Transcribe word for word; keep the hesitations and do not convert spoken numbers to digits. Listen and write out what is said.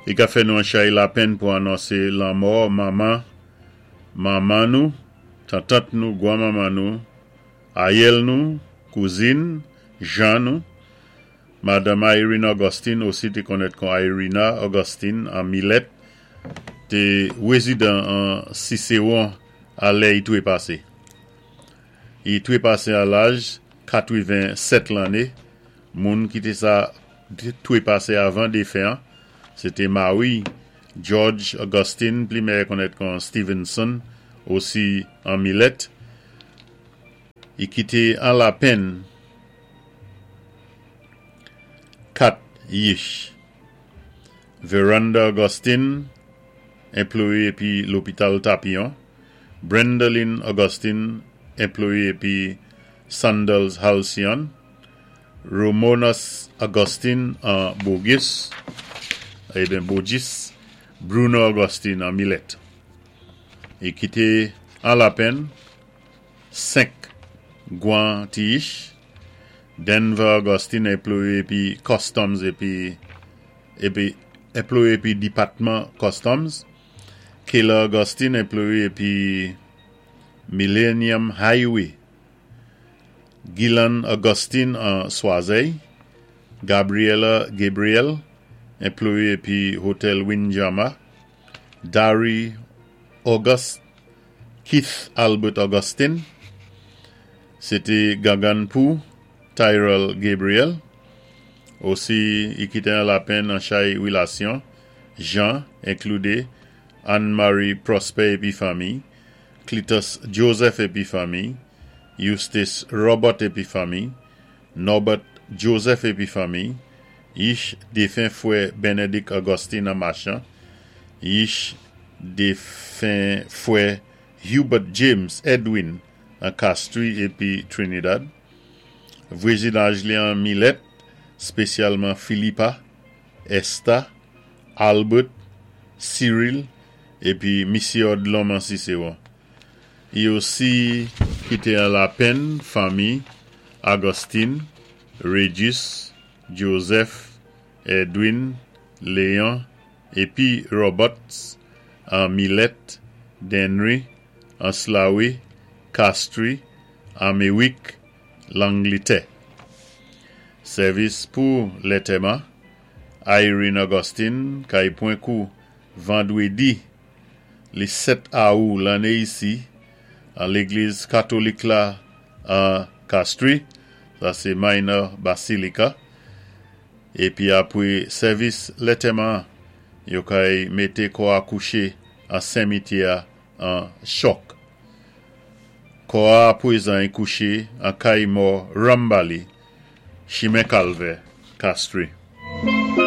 I ka fè nou an chay lapenn pou anonsé lanmò manman, manman nou, tantant nou, gwan-manman nou, ayèl nou, kouzin, jan nou, Madanm Irene Augustine, osi té konnèt kon Irina Augustine, an Milet, té wézidan an Cicéron a lè i twépasé. I twépasé a laj katwiven-sèt lanné, moun ki té sa twépasé avan défen an, sé té mari George Augustine, pli mèyè konnèt kon Stevenson, osi an Milet. I kité an lapenn kat yich. Veranda Augustine, enployé épi lopital Tapion. Brendaline Augustine, enployé épi Sandals Halcyon. Romonus Augustine an Bogus, ébyen Bogis. Bruno Augustine an Milet. I kité an lapenn senk gwan ti yich. Denver Augustine, enployé épi Customs épi épi enployé épi dipatman Customs. Kayla Augustine, enployé épi Millennium Highway. Gillan Augustine an Choiseul. Gabriela Gabriel, enployé épi Hotel Windjammer. Dari August, Keith Albert Augustine. Sé té gangann pou Tyrell Gabriel. Osi, i kité an lapenn an chay wilasyon. Jean, enkludé Anne-Marie Prosper épi fanmi, Cletus Joseph épi fanmi, Eustace Robert épi fanmi, Norbert Joseph épi fanmi, yich défen fwè Benedict Augustine an Machan, yich défen fwè Hubert James Edwin an Castries épi Trinidad, vwazinaj li an Milet, spésyalman Philippa, Esther, Albert, Cyril, épi Missy Odlom an Cicéron. I osi kité an lapenn fanmi Augustine, Regis, Joseph, Edwin, Léon, épi Roberts an Milet, Dennery, an Slawi, Castries, Améwik, Langlitè. Sèvis pou lantèman, Irene Augustine, kay pwan kou vandwédi, li sèt awou lanné isi, an légliz katolik la an Castries, sa sé Minor Basilica, épi apwé sèvis lantèman, yo kay mété kò a kouché an simityè an Choc. Kò a apwézan i kouché an kay mò Rambali, chimen Kalvè, Castries.